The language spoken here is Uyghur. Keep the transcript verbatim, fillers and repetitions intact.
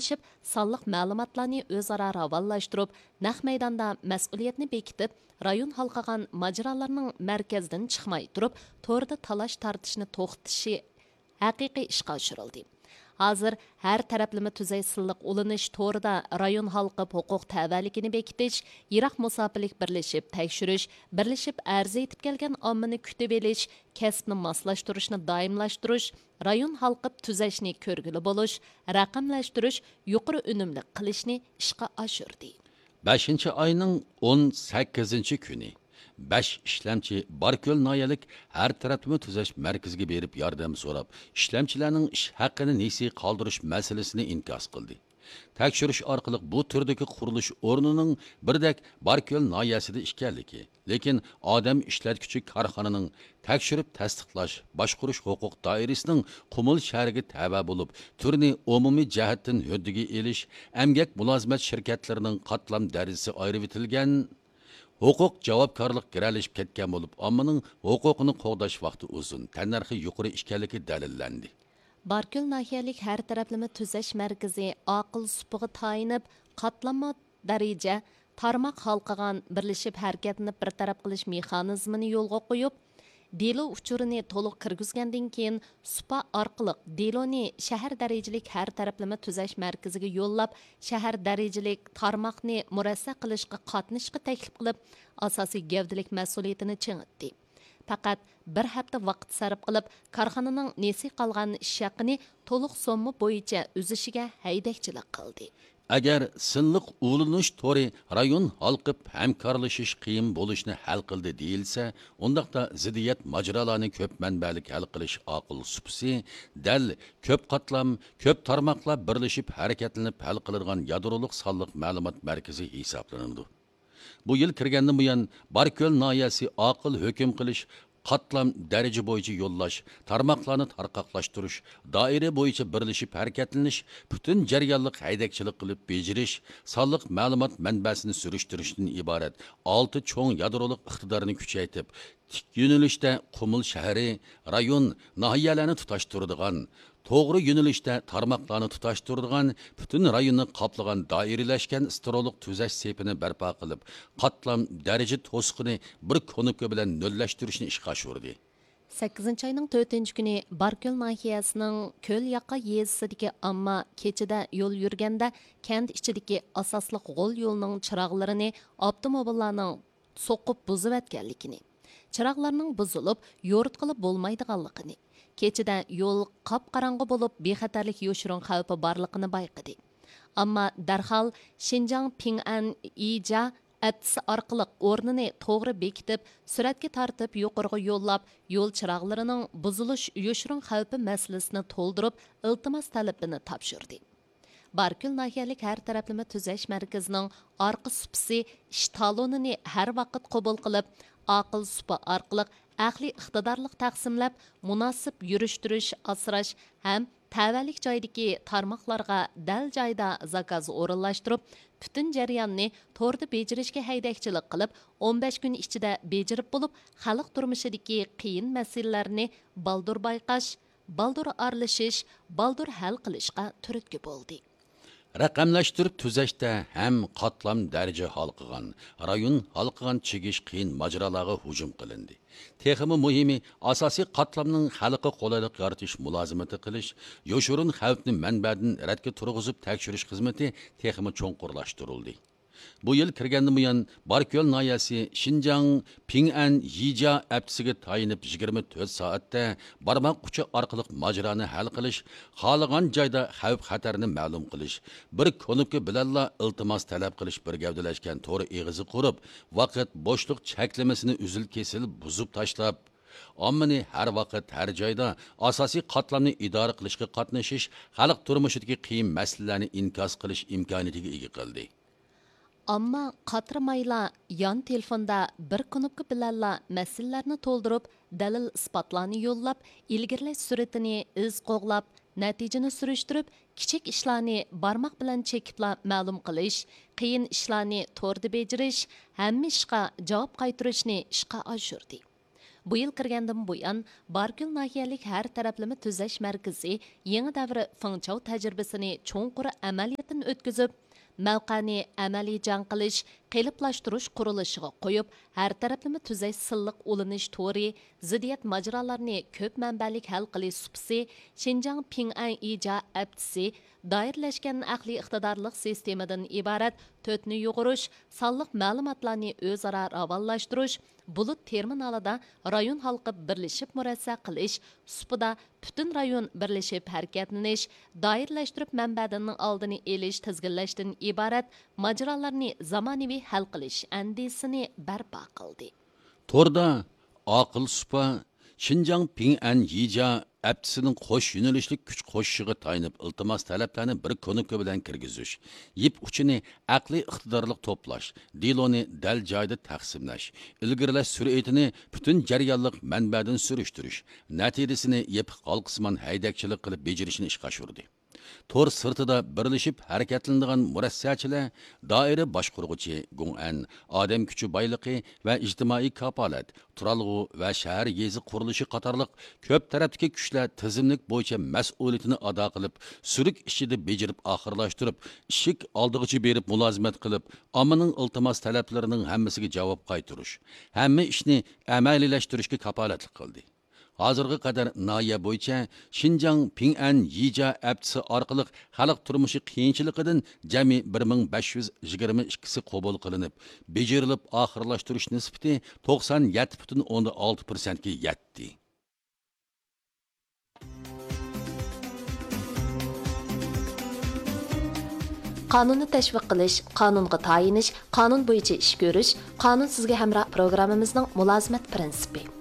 ئېلىشىپ، سانلىق مەلۇماتلارنى ئۆزئارا راۋانلاشتۇرۇپ، نەق مەيداندا مەسئۇلىيەتنى بېكىتىپ، رايون ھالقىغان ماجىرالارنىڭ مەركەزدىن چىقماي تۇرۇپ، توردا تالاش تارتىشنى توختىتىشى ھەقىقىي ئىشقا ئاشۇرۇلدى. ھازىر ھەر تەرەپلىمە تۈزەش سىنلىق ئۇلىنىش تورىدا رايون ھالقىپ ھوقۇق تەۋەلىكىنى بېكىتىش، يىراق مۇساپىلىك بىرلىشىپ تەكشۈرۈش، بىرلىشىپ ئەرز ئېيتىپ كەلگەن ئاممىنى كۈتۈۋېلىش، كەسىپنى ماسلاشتۇرۇشنى دائىملاشتۇرۇش، رايون ھالقىپ تۈزەشنى كۆرگىلى بولۇش، رەقەملەشتۈرۈش، يۇقىرى ئۈنۈملۈك قىلىشنى ئىشقا ئاشۇردى. بەشىنچى ئاينىڭ ئون سەككىزىنچى كۈنى بەش ئىشلەمچى باركۆل ناھىيەلىك ھەر تەرەپلىمە تۈزەش مەركىزىگە بېرىپ ياردەم سوراپ، ئىشلەمچىلەرنىڭ ئىش ھەققىنى نېسى قالدۇرۇش مەسىلىسىنى ئىنكاس قىلدى. تەكشۈرۈش ئارقىلىق بۇ تۈردىكى قۇرۇلۇش ئورنىنىڭ بىردەك باركۆل ناھىيەسىدە ئىكەنلىكى، لېكىن ئادەم ئىشلەتكۈچى كارخانىنىڭ تەكشۈرۈپ تەستىقلاش، باشقۇرۇش ھوقۇق دائىرىسىنىڭ قۇمۇل شەھىرىگە تەۋە بولۇپ، تۈرنى ئومۇمىي جەھەتتىن ھۆددىگە ئېلىش، ئەمگەك مۇلازىمەت شىركەتلىرىنىڭ قاتلام دەرىجىسى ئايرىۋېتىلگەن، ھوقۇق جاۋابكارلىق گىرەلىشىپ كەتكەن بولۇپ، ئاممىنىڭ ھوقۇقىنى قوغداش ۋاقتى ئۇزۇن، تەننەرخى يۇقىرى ئىكەنلىكى دەلىللەندى. باركۆل ناھىيەلىك ھەر تەرەپلىمە تۈزەش مەركىزى ئاقىل سۇپىغا تايىنىپ، قاتلامما دەرىجە، تارماق ھالقىغان بىرلىشىپ ھەرىكەتلىنىپ بىر تەرەپ قىلىش مېخانىزمىنى يولغا قويۇپ، دېلو ئۇچۇرىنى تولۇق كىرگۈزگەندىن كېيىن، سۇپا ئارقىلىق دېلونى شەھەر دەرىجىلىك ھەر تەرەپلىمە تۈزەش مەركىزىگە يوللاپ، شەھەر دەرىجىلىك تارماقنى مۇرەسسە قىلىشقا قاتنىشىشقا تەكلىپ قىلىپ، ئاساسىي گەۋدىلىك مەسئۇلىيىتىنى چىڭىتتى. پەقەت بىر ھەپتە ۋاقىت سەرپ قىلىپ، كارخانىنىڭ نېسى قالغان ئىش ھەققىنى تولۇق سومما بويىچە ئۈزۈشىگە ھەيدەكچىلىك قىلدى. ئەگەر سىنلىق ئۇلىنىش تورى رايون ھالقىپ ھەمكارلىشىش قىيىن بولۇشنى ھەل قىلدى دېيىلسە، ئۇنداقتا زىددىيەت ماجىرالارنى كۆپ مەنبەلىك ھەل قىلىش ئاقىل سۇپىسى دەل كۆپ قاتلام، كۆپ تارماقلار بىرلىشىپ ھەرىكەتلىنىپ ھەل قىلىدىغان يادرولۇق سانلىق مەلۇمات مەركىزى ھېسابلىنىدۇ. بۇ يىل كىرگەندىن بۇيان، باركۆل ناھىيەسى ئاقىل ھۆكۈم قىلىش، قاتلام دەرىجە بويىچە يوللاش، تارماقلارنى تارقاقلاشتۇرۇش، دائىرە بويىچە بىرلىشىپ ھەرىكەتلىنىش، پۈتۈن جەريانلىق ھەيدەكچىلىك قىلىپ بېجىرىش، سانلىق مەلۇمات مەنبەسىنى سۈرۈشتۈرۈشتىن ئىبارەت ئالتە چوڭ يادرولۇق ئىقتىدارنى كۈچەيتىپ، تىك يۆنىلىشتە قۇمۇل شەھىرى، رايون، ناھىيەلەرنى تۇتاشتۇرىدىغان، توغرا يۆنىلىشتە تارماقلارنى تۇتاشتۇرىدىغان، پۈتۈن رايوننى قاپلىغان دائىرىلەشكەن سترولۇق تۈزەش سېپىنى بەرپا قىلىپ، قاتلام دەرىجە توسۇقىنى بىر كۇنۇپكا بىلەن نۆللەشتۈرۈشنى ئىشقا ئاشۇردى. سەككىزىنچى ئاينىڭ تۆتىنچى كۈنى باركۆل ناھىيەسىنىڭ كۆل ياقا يېزىسىدىكى ئامما كېچىدە يول يۈرگەندە، كەنت ئىچىدىكى ئاساسلىق غول يولنىڭ چىراغلىرىنى ئاپتوموبىللارنىڭ سوقۇپ بۇزۇۋەتكەنلىكىنى، چىراغلارنىڭ بۇزۇلۇپ، يورۇتقىلى بولمايدىغانلىقىنى، كېچىدە يول قاپقاراڭغۇ بولۇپ، بىخەتەرلىك يوشۇرۇن خەۋپى بارلىقىنى بايقىدى. ئەمما دەرھال شىنجاڭ پىڭئەن ئىجيا ئەپتىسى ئارقىلىق ئورنىنى توغرا بېكىتىپ، سۈرەتكە تارتىپ يۇقىرىغا يوللاپ، يول چىراغلىرىنىڭ بۇزۇلۇش يوشۇرۇن خەۋپى مەسىلىسىنى تولدۇرۇپ، ئىلتىماس تەلىپىنى تاپشۇردى. باركۆل ناھىيەلىك ھەر تەرەپلىمە تۈزەش مەركىزىنىڭ ئارقا سۇپىسى ئىش تالونىنى ھەر ۋاقىت قوبۇل قىلىپ، ئاقىل سۇپا ئارقىلىق ئەقلىي ئىقتىدارلىق تەقسىملەپ، مۇناسىپ يۈرۈشتۈرۈش، ئاسراش ھەم تەۋەلىك جايدىكى تارماقلارغا دەل جايدا زاكاز ئورۇنلاشتۇرۇپ، پۈتۈن جەرياننى توردا بېجىرىشكە ھەيدەكچىلىك قىلىپ، ئون بەش كۈن ئىچىدە بېجىرىپ بولۇپ، خەلق تۇرمۇشىدىكى قىيىن مەسىلىلەرنى بالدۇر بايقاش، بالدۇر ئارىلىشىش، بالدۇر ھەل قىلىشقا تۈرتكە بولدى. رەقەملەشتۈرۈپ تۈزەشتە ھەم قاتلام دەرىجە ھالقىغان، رايون ھالقىغان چىگىش قىيىن ماجىرالارغا ھۇجۇم قىلىندى. تېخىمۇ مۇھىمى، ئاساسىي قاتلامنىڭ خەلققە قولايلىق يارىتىش مۇلازىمىتى قىلىش، يوشۇرۇن خەۋپنى مەنبەدىن رەتكە تۇرغۇزۇپ تەكشۈرۈش خىزمىتى تېخىمۇ چوڭقۇرلاشتۇرۇلدى. بۇ يىل كىرگەندىن بۇيان، باركۆل ناھىيەسى شىنجاڭ پىڭئەن يىجيا ئەپتىسىگە تايىنىپ، يىگىرمە تۆت سائەتتە بارماق ئۇچى ئارقىلىق ماجىرانى ھەل قىلىش، خالىغان جايدا خەۋپ خەتەرنى مەلۇم قىلىش، بىر كۇنۇپكا بىلەنلا ئىلتىماس تەلەپ قىلىش بىر گەۋدىلەشكەن تور ئېغىزى قۇرۇپ، ۋاقىت بوشلۇق چەكلىمىسىنى ئۈزۈل كېسىل بۇزۇپ تاشلاپ، ئاممىنى ھەر ۋاقىت، ھەر جايدا ئاساسىي قاتلامنى ئىدارە قىلىشقا قاتنىشىش، خەلق تۇرمۇشىدىكى قىيىن مەسىلىلەرنى ئىنكاس قىلىش ئىمكانىيىتىگە ئىگە قىلدى. ئامما قاترىمايلا يان تېلېفوندا بىر كۇنۇپكا بىلەنلا مەسىلىلەرنى تولدۇرۇپ، دەلىل ئىسپاتلارنى يوللاپ، ئىلگىرىلەش سۈرئىتىنى ئىز قوغلاپ، نەتىجىنى سۈرۈشتۈرۈپ، كىچىك ئىشلارنى بارماق بىلەن چېكىپلا مەلۇم قىلىش، قىيىن ئىشلارنى توردا بېجىرىش، ھەممە ئىشقا جاۋاب قايتۇرۇشنى ئىشقا ئاشۇردى. بۇ يىل كىرگەندىن بۇيان، باركۆل ناھىيەلىك ھەر تەرەپلىمە تۈزەش مەركىزى يېڭى دەۋر فېڭچاۋ تەجرىبىسىنى چوڭقۇر ئەمەلىي ئۆتكۈزۈپ، مەۋقەنى ئەمەلىي جەڭ قىلىش، قېلىپلاشتۇرۇش قۇرۇلۇشىغا قويۇپ، ھەر تەرەپلىمە تۈزەش سىنلىق ئۇلىنىش تورى، زىددىيەت ماجىرالارنى كۆپ مەنبەلىك ھەل قىلىش سۇپىسى، شىنجاڭ پىڭئەن ئىجا ئەپچىسى، دائىرىلەشكەن ئەقلىي ئىقتىدارلىق سىستېمىدىن ئىبارەت تۆتنى يۇغۇرۇش، سانلىق مەلۇماتلارنى ئۆزئارا راۋانلاشتۇرۇش، بۇلۇت تېرمىنالىدا رايون ھالقىپ بىرلىشىپ مۇرەسسە قىلىش، سۇپىدا پۈتۈن رايون بىرلىشىپ ھەرىكەتلىنىش، دائىرىلەشتۈرۈپ مەنبەدىننىڭ ئالدىنى ئېلىش، تىزگىنلەشتىن ئىبارەت ماجىرالارنى زامانىۋى ھەل قىلىش ئەندىزىسىنى بەرپا قىلدى. توردا ئاقىل سۇپا، شىنجاڭ پىڭئەن يىجيا ئەپچىسىنىڭ قوش يۆنىلىشلىك كۈچ قوشۇشىغا تايىنىپ ئىلتىماس تەلەپلەرنى بىر كۇنۇپكا بىلەن كىرگۈزۈش، يىپ ئۇچىنى ئەقلىي ئىقتىدارلىق توپلاش، دېلونى دەل جايىدا تەقسىملەش، ئىلگىرىلەش سۈرئىتىنى پۈتۈن جەريانلىق مەنبەدىن سۈرۈشتۈرۈش، نەتىجىسىنى يېپىق ھالقىسىمان ھەيدەكچىلىك قىلىپ بېجىرىشنى ئىشقا ئاشۇردى. تور سىرتىدا بىرلىشىپ ھەرىكەتلىنىدىغان مۇرەسسەچىلەر دائىرە باشقۇرغۇچى گۇڭئەن، ئادەم كۈچى بايلىقى ۋە ئىجتىمائىي كاپالەت، تۇرالغۇ ۋە شەھەر يېزا قۇرۇلۇشى قاتارلىق كۆپ تەرەپتىكى كۈچلەر تىزىملىك بويىچە مەسئۇلىيىتىنى ئادا قىلىپ، سۈرۈك ئىچىدە بېجىرىپ ئاخىرلاشتۇرۇپ، ئىشىك ئالدىغىچە بېرىپ مۇلازىمەت قىلىپ، ئاممىنىڭ ئىلتىماس تەلەپلىرىنىڭ ھەممىسىگە جاۋاب قايتۇرۇش، ھەممە ئىشنى ئەمەلىيلەشتۈرۈشكە كاپالەتلىك قىلدى. ھازىرغا قەدەر ناھىيە بويىچە شىنجاڭ پىڭئەن يىجيا ئەپچىسى ئارقىلىق خەلق تۇرمۇشى قىيىنچىلىقىدىن جەمئىي بىر مىڭ بەش يۈز يىگىرمە ئىككىسى قوبۇل قىلىنىپ، بېجىرىلىپ ئاخىرلاشتۇرۇش نىسبىتى توقسان يەتتە پۈتۈن ئوندىن ئالتە پىرسەنتكە يەتتى. قانۇننى تەشۋىق قىلىش، قانۇنغا تايىنىش، قانۇن بويىچە ئىش كۆرۈش، قانۇن سىزگە ھەمراھ پروگراممىمىزنىڭ مۇلازىمەت پىرىنسىپى.